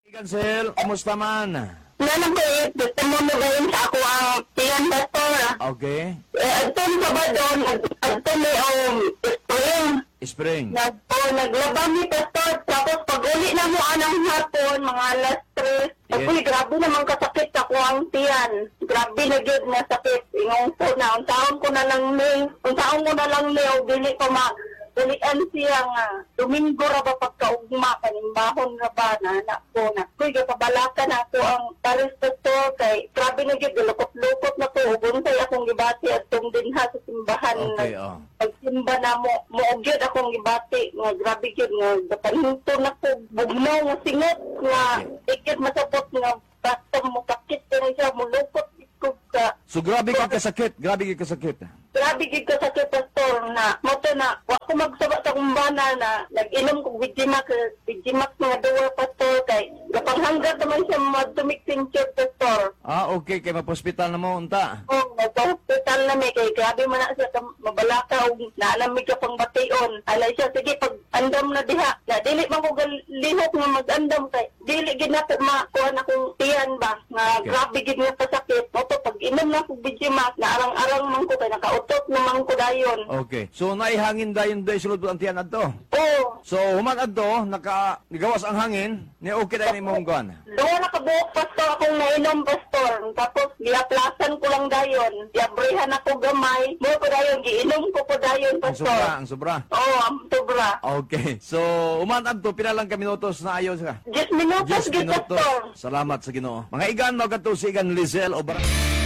Cancel, kumusta man? Nanang ko eh, gusto mo mo gayon sa ako ang tiyan, pastor. Okay. Eh, adtong Sabado, adto mi spring. Spring. Oh, naglaba mi, pastor. Tapos pag uli na mo anang hapon, mga alas 3. Uy, grabe naman kasakit ako ang tiyan. Grabe na gyud na sakit. Ingon ko na, unsaon ko na lang ni, unsaon ko na lang ni, o dili ko ma, ulian siya nga, Domingo ra ba pagkaugma, kaning bahon ra ba, na anak ko na. Kuy, kabalaka na ako ang pares, pastor, kay grabe na gyud, lukot-lukot na ko, ug unsay akong gibati atong dinha sa simbahan. Okay, oh. Pagsimba na mo, mo gyud akong gibati nga grabe gyud nga gapahinto na ko bugnaw nga singot nga ikit masapot nga basta mo sakit kini siya mulukot ko ka. So grabe ka kasakit, grabe ka kasakit. Grabe gyud ka sakit, pastor, na mo to na wa ko magsaba sa akong bana na nag-inom kog Bijimax, Bijimax nga duwa, pastor, kay gapanghanggat naman siya madtumik church, pastor. Ah, okay, kay mapospital na mo unta. Oh, nagpa-hospital na mi kay grabe man na siya mabalaka og naalam mi ka pang bation. Alay siya sige pag andam na diha. Na dili man ko lihok nga mag-andam kay dili gid na ko makuha na akong tiyan ba nga grabe gid nga kasakit. Mo to pag inom na kog Bijimax na arang-arang man ko kay nakautot na man ko dayon. Okay. So naihangin dayon day sulod ang tiyan adto. Oh, So human adto naka nigawas ang hangin, ni okay dayon imong kuan. Duha na kabuok, pastor, akong nainom, pastor. Tapos giaplasan ko lang dayon. Giabrihan ako gamay. Mo ko dayon giinom ko po dayon, Ang pastor. sobra, ang sobra. Oo, ang sobra. Okay. So human adto pila lang ka minutos na ayo siya? 10 minutos, 10 gid, minutos. pastor. Salamat sa Ginoo. Mga igan, mo kadto si Igan Lizelle o